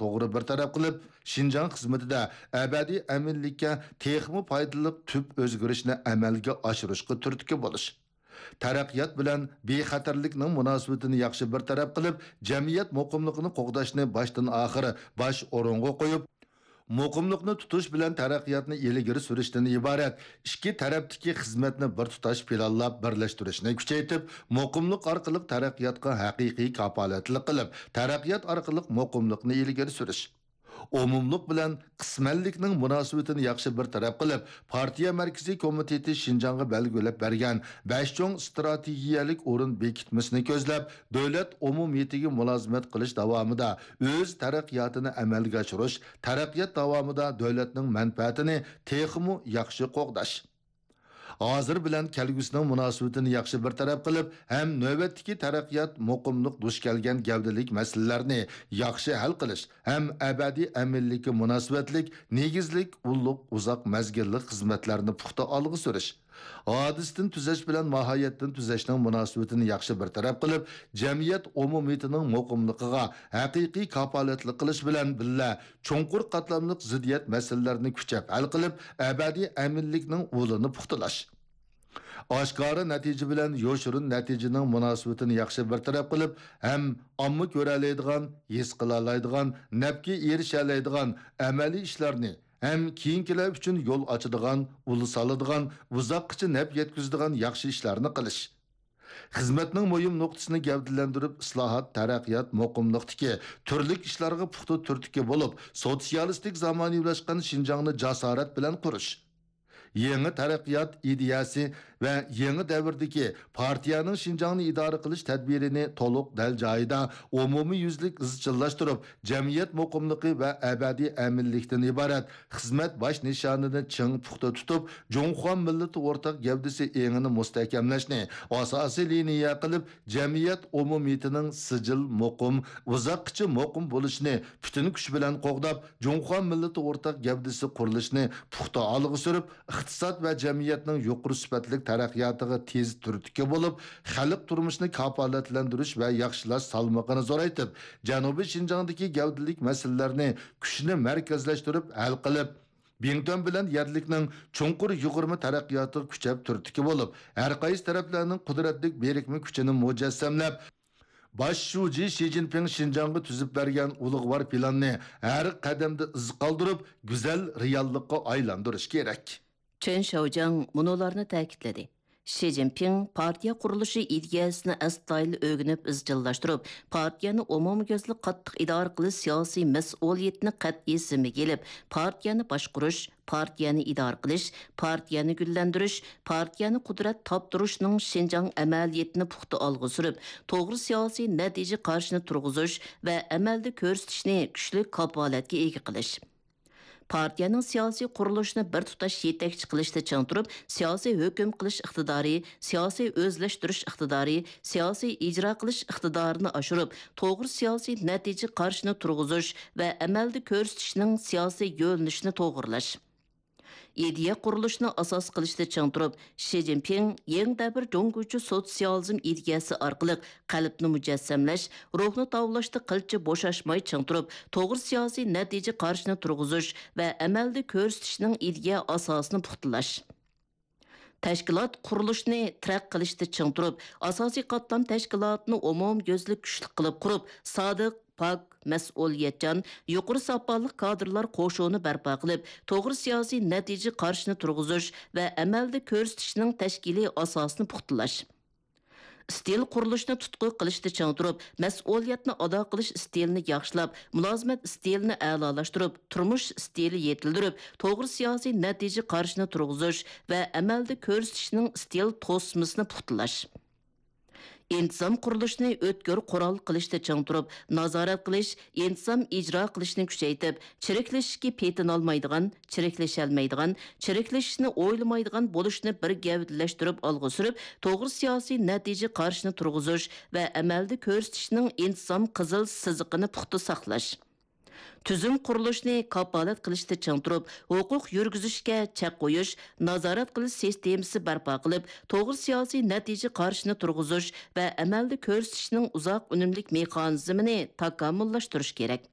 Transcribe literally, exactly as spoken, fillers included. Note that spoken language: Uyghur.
توغرا بىر تەرەپ قىلىپ، شىنجاڭ خىزمىتىدە ئەبەدىي ئەمىنلىككە تېخىمۇ پايدىلىق تۈپ ئۆزگىرىشنى ئەمەلگە ئاشۇرۇشقا تۈرتكە بولۇش. تەرەققىيات بىلەن بىخەتەرلىكنىڭ مۇناسىۋىتىنى ياخشى بىر تەرەپ قىلىپ، جەمئىيەت مۇقىملىقىنى قوغداشنى باشتىن ئاخىر باش ئورۇنغا قويۇپ، مۇقىملىقنى تۇتۇش بىلەن تەرەققىياتنى ئىلگىرى سۈرۈشتىن ئىبارەت ئىككى تەرەپتىكى خىزمەتنى بىر تۇتاش پىلانلاپ بىرلەشتۈرۈشنى كۈچەيتىپ، مۇقىملىق ئارقىلىق تەرەققىياتقا ھەقىقىي كاپالەتلىك قىلىپ، تەرەققىيات ئارقىلىق مۇقىملىقنى ئىلگىرى سۈرۈش. ئومۇملۇق بىلەن قىسمەنلىكنىڭ مۇناسىۋىتىنى ياخشى بىر تەرەپ قىلىپ، پارتىيە مەركىزىي كومىتېتى شىنجاڭغا بەلگىلەپ بەرگەن بەش چوڭ ئىستراتېگىيەلىك ئورۇن بېكىتمىسىنى كۆزلەپ، دۆلەت ئومۇمىيىتىگە مۇلازىمەت قىلىش داۋامىدا ئۆز تەرەققىياتىنى ئەمەلگە ئاشۇرۇش، تەرەققىيات داۋامىدا دۆلەتنىڭ مەنپەئەتىنى تېخىمۇ ياخشى قوغداش. ھازىر بىلەن كەلگۈسىنىڭ مۇناسىۋىتىنى ياخشى بىر تەرەپ قىلىپ، ھەم نۆۋەتتىكى تەرەققىيات، مۇقىملىق دۇچ كەلگەن گەۋدىلىك مەسىلىلەرنى ياخشى ھەل قىلىش، ھەم ئەبەدىي ئەمىنلىككە مۇناسىۋەتلىك نېگىزلىك ئۇللۇق ئۇزاق مەزگىللىك خىزمەتلەرنى پۇختا ئالغا سۈرۈش. ھادىسىدىن تۈزەش بىلەن ماھىيەتتىن تۈزەشنىڭ مۇناسىۋىتىنى ياخشى بىر تەرەپ قىلىپ، جەمئىيەت ئومۇمىيىتىنىڭ مۇقىملىقىغا ھەقىقىي كاپالەتلىك قىلىش بىلەن بىللە، چوڭقۇر قاتلاملىق زىددىيەت مەسىلىلەرنى كۈچەپ ھەل قىلىپ، ئەبەدىي ئەمىنلىكنىڭ ئۇلىنى پۇختىلاش. ئاشكارا نەتىجە بىلەن يوشۇرۇن نەتىجىنىڭ مۇناسىۋىتىنى ياخشى بىر تەرەپ قىلىپ، ھەم ئامما كۆرەلەيدىغان، ھېس قىلالايدىغان، نەپكە ئېرىشەلەيدىغان ئەمەلىي ئىشلارنى، ھەم كېيىنكىلەر ئۈچۈن يول ئاچىدىغان، ئۇل سالىدىغان، ئۇزاققىچە نەپ يەتكۈزىدىغان ياخشى ئىشلارنى قىلىش. خىزمەتنىڭ مۇھىم نۇقتىسىنى گەۋدىلەندۈرۈپ، ئىسلاھات، تەرەققىيات، مۇقىملىقتىكى تۈرلۈك ئىشلارغا پۇختا تۈرتكە بولۇپ، سوتسىيالىستىك زامانىۋىلاشقان شىنجاڭنى جاسارەت بىلەن قۇرۇش. يېڭى تەرەققىيات ئىدىيەسى ۋە يېڭى دەۋردىكى پارتىيەنىڭ شىنجاڭنى ئىدارە قىلىش تەدبىرىنى تولۇق دەل جايىدا ئومۇميۈزلۈك ئىزچىللاشتۇرۇپ، جەمئىيەت مۇقىملىقى ۋە ئەبەدىي ئەمىنلىكتىن ئىبارەت خىزمەت باش نىشانىنى چىڭ پۇختا تۇتۇپ، جۇڭخۇا مىللىتى ئورتاق گەۋدىسى ئېڭىنى مۇستەھكەملەشنى ئاساسىي لىنىيە قىلىپ، جەمئىيەت ئومۇمىيىتىنىڭ سىجىل مۇقىم، ئۇزاققىچە مۇقىم بولۇشىنى پۈتۈن كۈچ بىلەن قوغداپ، جۇڭخۇا مىللىتى ئورتاق گەۋدىسى قۇرۇلۇشىنى پۇختا ئالغا سۈرۈپ، ئىقتىساد ۋە جەمئىيەتنىڭ يۇقىرى سۈپەتلىك تەرەققىياتىغا تېز تۈرتكە بولۇپ، خەلق تۇرمۇشىنى كاپالەتلەندۈرۈش ۋە ياخشىلاش سالمىقىنى زورايتىپ، جەنۇبىي شىنجاڭدىكى گەۋدىلىك مەسىلىلەرنى كۈچنى مەركەزلەشتۈرۈپ ھەل قىلىپ، بىڭتۈەن بىلەن يەرلىكنىڭ چوڭقۇر يۇغۇرما تەرەققىياتىغا كۈچەپ تۈرتكە بولۇپ، ھەر قايسى تەرەپلەرنىڭ قۇدرەتلىك بىرىكمە كۈچىنى مۇجەسسەملەپ، باش شۇجى شى جىنپىڭ شىنجاڭغا تۈزۈپ بەرگەن ئۇلۇغۋار پىلاننى ھەر قەدەمدە ئىز قالدۇرۇپ، گۈزەل رېئاللىققا ئايلاندۇرۇش كېرەك. چېن شياۋجياڭ مۇنۇلارنى تەكىتلىدى: شى جىنپىڭ پارتىيە قۇرۇلۇشى ئىدىيەسىنى ئەستايىدىل ئۆگىنىپ ئىزچىللاشتۇرۇپ، پارتىيەنى ئومۇميۈزلۈك قاتتىق ئىدارە قىلىش سىياسىي مەسئۇلىيىتىنى قەتئىي زىممىگە ئېلىپ، پارتىيەنى باشقۇرۇش، پارتىيەنى ئىدارە قىلىش، پارتىيەنى گۈللەندۈرۈش، پارتىيەنى قۇدرەت تاپتۇرۇشنىڭ شىنجاڭ ئەمەلىيىتىنى پۇختا ئالغا سۈرۈپ، توغرا سىياسىي نەتىجە قارىشىنى تۇرغۇزۇش ۋە ئەمەلدە كۆرسىتىشنى كۈچلۈك كاپالەتكە ئىگە قىلىش. پارتىيەنىڭ سىياسىي قۇرۇلۇشىنى بىر تۇتاش يېتەكچى قىلىشتا چىڭ تۇرۇپ، سىياسىي ھۆكۈم قىلىش ئىقتىدارى، سىياسىي ئۆزلەشتۈرۈش ئىقتىدارى، سىياسىي ئىجرا قىلىش ئىقتىدارىنى ئاشۇرۇپ، توغرا سىياسىي نەتىجە قارىشىنى تۇرغۇزۇش ۋە ئەمەلدە كۆرسىتىشنىڭ سىياسىي يۆنىلىشىنى توغرىلاش. ئىدىيە قۇرۇلۇشىنى ئاساس قىلىشتا چىڭ تۇرۇپ، شى جىنپىڭ يېڭى دەۋر جۇڭگوچە سوتسىيالىزم ئىدىيەسى ئارقىلىق قەلبنى مۇجەسسەملەش، روھنى تاۋلاشتا قىلچە بوشاشماي چىڭ تۇرۇپ، توغرا سىياسىي نەتىجە قارىشىنى تۇرغۇزۇش ۋە ئەمەلدە كۆرسىتىشنىڭ ئىدىيە ئاساسىنى پۇختىلاش. تەشكىلات قۇرۇلۇشىنى تەرەققىي قىلىشتا چىڭ تۇرۇپ، ئاساسىي قاتلام تەشكىلاتىنى ئومۇميۈزلۈك كۈچلۈك قىلىپ قۇرۇپ، سادىق، پاك، مەسئۇلىيەتچان، يۇقىرى ساپالىق كادىرلار قوشۇنى بەرپا قىلىپ، توغرا سىياسىي نەتىجە قارىشىنى تۇرغۇزۇش ۋە ئەمەلدە كۆرسىتىشنىڭ تەشكىلىي ئاساسىنى پۇختىلاش. ئىستىل قۇرۇلۇشىنى تۇتقا قىلىشتا چىڭ تۇرۇپ، مەسئۇلىيەتنى ئادا قىلىش ئىستىلىنى ياخشىلاپ، مۇلازىمەت ئىستىلىنى ئەلالاشتۇرۇپ، تۇرمۇش ئىستىلى يېتىلدۈرۈپ، توغرا سىياسىي نەتىجە قارىشىنى تۇرغۇزۇش ۋە ئەمەلدە كۆرسىتىشنىڭ ئىستىل توسمىسىنى پۇختىلاش. ئىنتىزام قۇرۇلۇشىنى ئۆتكۈر قورال قىلىشتا چىڭ تۇرۇپ، نازارەت قىلىش، ئىنتىزام ئىجرا قىلىشنى كۈچەيتىپ، چىرىكلىشىشكە پېتىنالمايدىغان، چىرىكلىشەلمەيدىغان، چىرىكلىشىشنى ئويلىمايدىغان بولۇشنى بىر گەۋدىلەشتۈرۈپ ئالغا سۈرۈپ، توغرا سىياسىي نەتىجە قارىشىنى تۇرغۇزۇش ۋە ئەمەلدە كۆرسىتىشنىڭ ئىنتىزام قىزىل سىزىقىنى پۇختا ساقلاش. تۈزۈم قۇرۇلۇشىنى كاپالەت قىلىشتا چىڭ تۇرۇپ، ھوقۇق يۈرگۈزۈشكە چەك قويۇش، نازارەت قىلىش سىستېمىسى بەرپا قىلىپ، توغرا سىياسىي نەتىجە قارىشىنى تۇرغۇزۇش ۋە ئەمەلدە كۆرسىتىشنىڭ ئۇزاق ئۈنۈملۈك مېخانىزمىنى تاكامۇللاشتۇرۇش كېرەك.